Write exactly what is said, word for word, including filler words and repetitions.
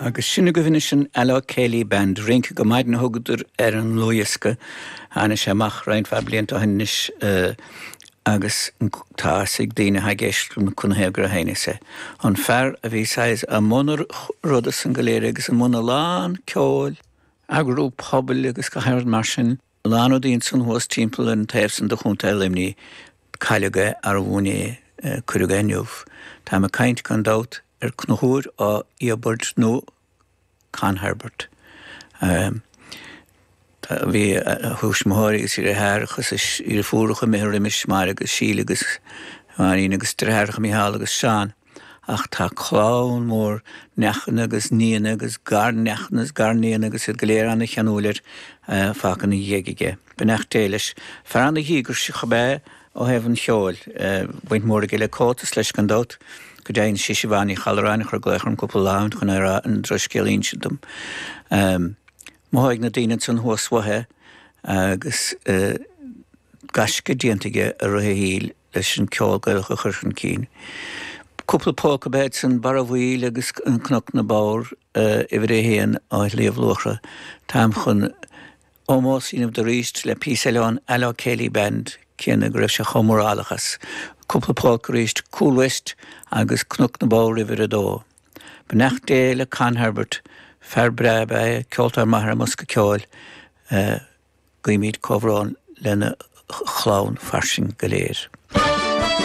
Agus sin agaibh anois an Alloa Céilí Band, Rince go Maidin a thugadar ar an ndlúthdhiosca. Tháinig sé amach roinnt mhaith blianta ó shin anois agus tá fhios ag daoine atá ag éisteacht liom canathaobh gur sheinneas é. An fear a bhí saghas i mbun an ruda san go léir agus i mbun a lán ceoil, eagrú pobail agus gach aon rud mar sin, a lán rudaí ansan thuas timpeall an taobh san de Chontae Luimnigh, cailleadh é arbh inné, cuireadh é inniu. Táim ag caint gan dabht ar Conchúr Ó Íobaird nó Con Herbert. Bhí a thuismitheoirí agus a dheartháireacha agus a dheirfiúracha imithe roimis, Máire agus Síle agus Máirín agus deartháireacha Mícheál agus Seán. Ach tá clann mhór neachanna agus nianna agus garneachanna agus garnianna agus iad go léir ana-cheanúil air fágtha ina dhiaidh aige. Beannacht Dé leis. Fear ana-dhíograiseach ab ea é ó thaobh an cheoil. Baint mhór aige le Comhaltas leis gan dabht. Go deimhin sí Siobhán Ní Challáin a chuir glaoch orm cúpla lá ó shin chun é a rá an drochscéal a insint dom. Mothóidh na daoine ansan thuas uaidh é agus gaisce déanta aige i rith a shaoil leis an ceol Gaelach a chur chun cinn. Cúpla Polca ab ea iad san, Barra Mhaoil agus Cnoc na mBodhar, uimhir a haon ó Shliabh Luachra. Táim chun ómós a dhéanamh dó arís le píosa eile ón Alloa Céilí Band céanna go raibh sé chomh mórálach as. Cúpla Polca arís, Cool West agus Cnoc na mBodhar uimhir a dó. Beannacht Dé le Con Herbert, fear breá ab ea é, ceoltóir maith ar an mbosca ceoil. Guímid comhbhrón lena chlann fairsing go léir.